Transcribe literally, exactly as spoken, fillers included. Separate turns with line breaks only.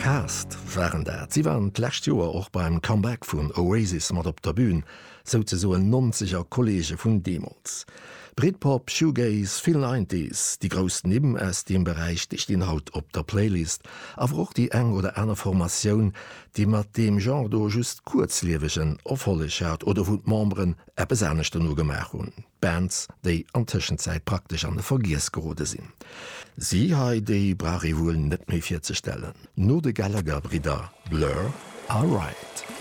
Cast waren dat. Si waren d'lescht Joer och beim Comeback vun Oasis mat op der Bün, souzesoen nonzeger Kolleege vun deemools. Britpop, Shoegaze, vill Nineties, déi grouss Nimm aus deem Beräich, déi stinn haut op der Playlist, awer och déi eng oder aner Formatioun, déi mat deem Genre do just kuerzliewegen Erfolleg hat oder wou d'Memberen eppes anescht dono gemaach hunn. Bands, déi an Tëschenzäit praktesch an de Vergiess gerode sinn. Si hei, déi brauch ee wuel net méi virzestellen. No de Gallagher-Bridder, Blur a Riot.